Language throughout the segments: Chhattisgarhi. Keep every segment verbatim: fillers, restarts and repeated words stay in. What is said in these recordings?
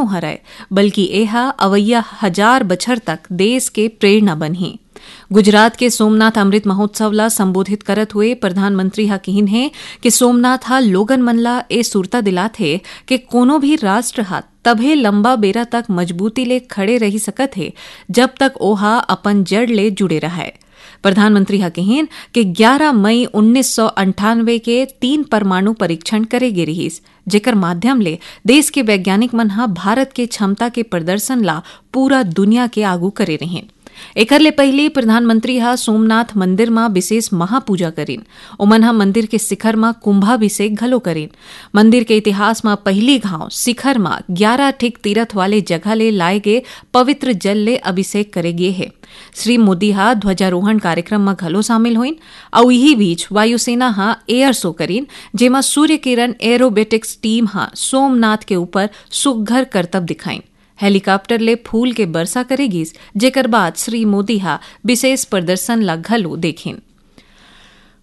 हरय, बल्कि एहा अवइया हजार बछर तक देश के प्रेरणा बनही। गुजरात के सोमनाथ अमृत महोत्सव ला संबोधित करत हुए प्रधानमंत्री ह किहिन हे कि सोमनाथ ह लोगन मन ला ए सुरता दिलात हे कि कोनो भी राष्ट्र ह तभे लंबा बेरा तक मजबूती ले खड़े रहि सकत हे, जब तक ओहा अपन जड़ ले जुड़े रहय। प्रधानमंत्री ह किहिन कि ग्यारा मई उन्नीस सौ अंठानवे के तीन परमाणु परीक्षण करे गे रिहिस, जेकर माध्यम ले देश के वैज्ञानिक मन ह भारत के क्षमता के प्रदर्शन ला पूरा दुनिया के आगू करे रिहिन। एकर ले पहिली प्रधानमंत्री ह सोमनाथ मंदिर म विशेष महापूजा करिन। ओमन ह मंदिर के शिखर म कुंभाभिषेक घलो करिन। मंदिर के इतिहास म पहिली घांव शिखर म ग्यारा ठिक तीरथ वाले जगह ले लाए गे पवित्र जल ले अभिषेक करे गे हे। श्री मोदी ह ध्वजारोहण कार्यक्रम म घलो शामिल होइन, अउ इही बीच वायुसेना ह एयर शो करिन, जेमा सूर्य किरण एरोबेटिक्स टीम ह सोमनाथ के ऊपर सुघ्घर करतब दिखाइन। हेलीकॉप्टर ले फूल के बरसा करे गिस, जेकर बाद श्री मोदी ह विशेष प्रदर्शन ला घलो देखिन।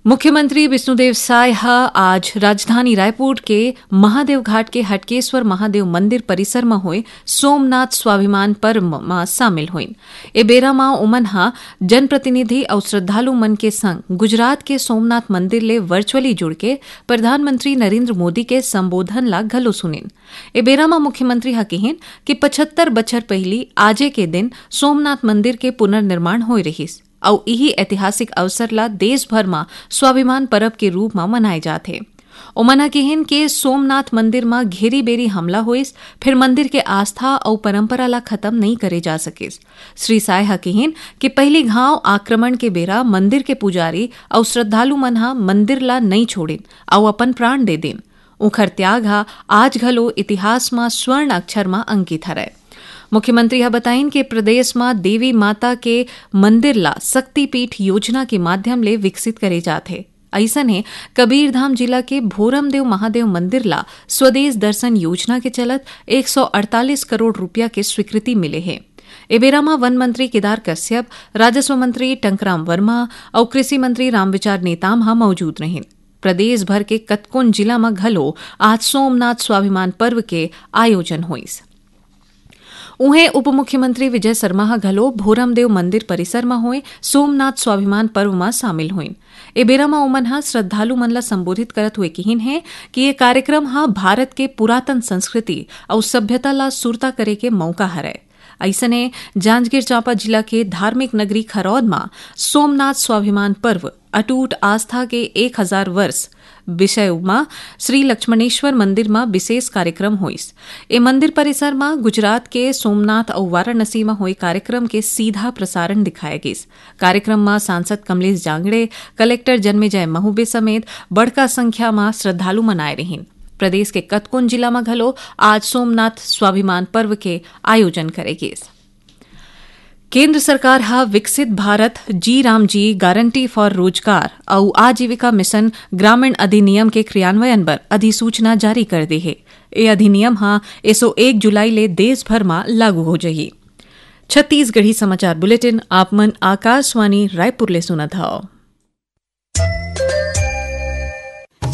मुख्यमंत्री विष्णुदेव साय ह आज राजधानी रायपुर के महादेव घाट के हटकेश्वर महादेव मंदिर परिसर म होए सोमनाथ स्वाभिमान पर्व म शामिल होइन। ए बेरा म ओमन ह जनप्रतिनिधि अउ श्रद्धालु मन के संग गुजरात के सोमनाथ मंदिर ले वर्चुअली जुड़के प्रधानमंत्री नरेंद्र मोदी के संबोधन ला घलो सुनिन। ए बेरा म मुख्यमंत्री ह किहिन कि पचहत्तर बछर पहिली आजे के दिन सोमनाथ मंदिर के पुनर्निर्माण होए रिहिस, अउ इही ऐतिहासिक अवसर ला देश भर म स्वाभिमान परब के रूप म मनाए जाथे। ओमन ह किहिन के सोमनाथ मंदिर म घेरी-बेरी हमला होइस, फेर मंदिर के आस्था अउ परंपरा ला खत्म नइ करे जा सकिस। श्री साय ह किहिन कि पहिली घांव आक्रमण के बेरा मंदिर के पुजारी अउ श्रद्धालु मन ह मंदिर ला नइ छोड़िन अउ अपन प्राण दे दिन। उंखर त्याग ह आज घलो इतिहास म स्वर्ण अक्षर म अंकित हरय। मुख्यमंत्री ह बताइन कि प्रदेश म देवी माता के मंदिर ला शक्तिपीठ योजना के माध्यम ले विकसित करे जात हे। अइसने कबीरधाम जिला के भोरमदेव महादेव मंदिर ला स्वदेश दर्शन योजना के चलत एक सौ अड़तालीस करोड़ रुपया के स्वीकृति मिले हे। ए बेरा म वन मंत्री केदार कश्यप, राजस्व मंत्री टंकराम वर्मा अउ कृषि मंत्री रामविचार नेताम ह मौजूद रहिन। प्रदेश भर के कतकोन जिला म घलो आज सोमनाथ स्वाभिमान पर्व के आयोजन होइस। उहें, उप मुख्यमंत्री विजय शर्मा ह घलो भोरमदेव मंदिर परिसर म होए सोमनाथ स्वाभिमान पर्व म शामिल होइन। ए बेरा म ओमन ह श्रद्धालु मन ल संबोधित करत हुए किहिन हे कि ये कार्यक्रम ह भारत के पुरातन संस्कृति अउ सभ्यता ल सुरता करे के मौका हरय। अइसने, जांजगीर चांपा जिला के धार्मिक नगरी खरौद म सोमनाथ स्वाभिमान पर्व अटूट आस्था के एक हजार वर्ष विषय म श्री लक्ष्मणेश्वर मंदिर म विशेष कार्यक्रम होइस। ए मंदिर परिसर म गुजरात के सोमनाथ अउ वाराणसी म होए कार्यक्रम के सीधा प्रसारण दिखाए गिस। कार्यक्रम म सांसद कमलेश जांगड़े, कलेक्टर जन्मेजय महोबे समेत बड़का संख्या म श्रद्धालु मन आए रिहिन। प्रदेश के कतकोन जिला म घलो आज सोमनाथ स्वाभिमान पर्व के आयोजन करे गिस। केंद्र सरकार ह विकसित भारत जी राम जी गारंटी फॉर रोजगार अउ आजीविका मिशन ग्रामीण अधिनियम के क्रियान्वयन बर अधिसूचना जारी कर दे हे। ए अधिनियम ह एसो एक जुलाई ले देश भर म लागू हो जही। छत्तीसगढ़ी समाचार बुलेटिन आप मन आकाशवाणी रायपुर ले सुनत हव।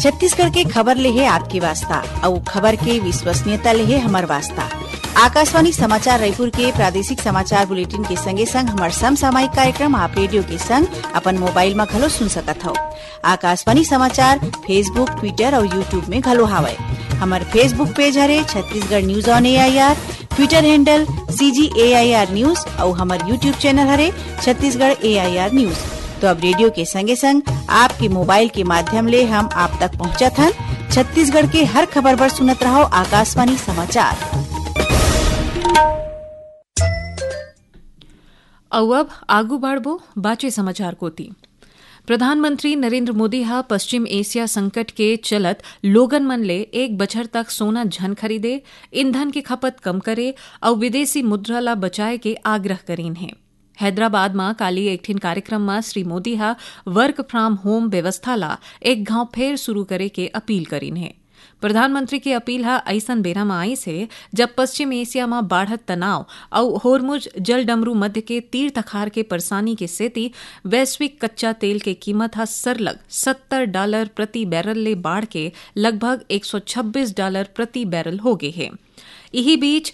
छत्तीसगढ़ के खबर ले हे आपके वास्ता, अउ खबर के विश्वसनीयता ले हे हमर वास्ता। आकाशवाणी समाचार रायपुर के प्रादेशिक समाचार बुलेटिन के संगे संग हमर समसामयिक कार्यक्रम आप रेडियो के संग अपन मोबाइल म घलो सुन सकत हव। आकाशवाणी समाचार Facebook, Twitter अउ YouTube में घलो हावय। हमर Facebook पेज हरे Chhattisgarh news on AIR, Twitter handle CG AIR news अउ हमर YouTube चैनल हरे छत्तीसगढ़ एआईआर न्यूज। तो अब रेडियो के संगे संग आपके मोबाइल के माध्यम ले हम आप तक पहुंचत हन। छत्तीसगढ़ के हर खबर बर सुनत रहव आकाशवाणी समाचार। अउ अब आगू बाढ़बो बाचे समाचार कोती। प्रधानमंत्री नरेंद्र मोदी ह पश्चिम एशिया संकट के चलत लोगन मन ले एक बछर तक सोना झन खरीदे, ईंधन के खपत कम करे अउ विदेशी मुद्रा ला बचाए के आग्रह करीन हे। हैदराबाद म काली एक ठिन कार्यक्रम म श्री मोदी ह work from home व्यवस्था ला एक घांव फेर शुरू करे के अपील करीन हे। प्रधानमंत्री के अपील ह अइसन बेरा म आइस हे, जब पश्चिम एशिया म बाढ़त तनाव अउ होर्मुज जलडमरू मध्य के तीर तखार के परेशानी के सेती वैश्विक कच्चा तेल के कीमत ह सरलग सत्तर डॉलर प्रति बैरल ले बाढ़ के लगभग एक सौ छब्बीस डॉलर प्रति बैरल हो गे हे। इही बीच,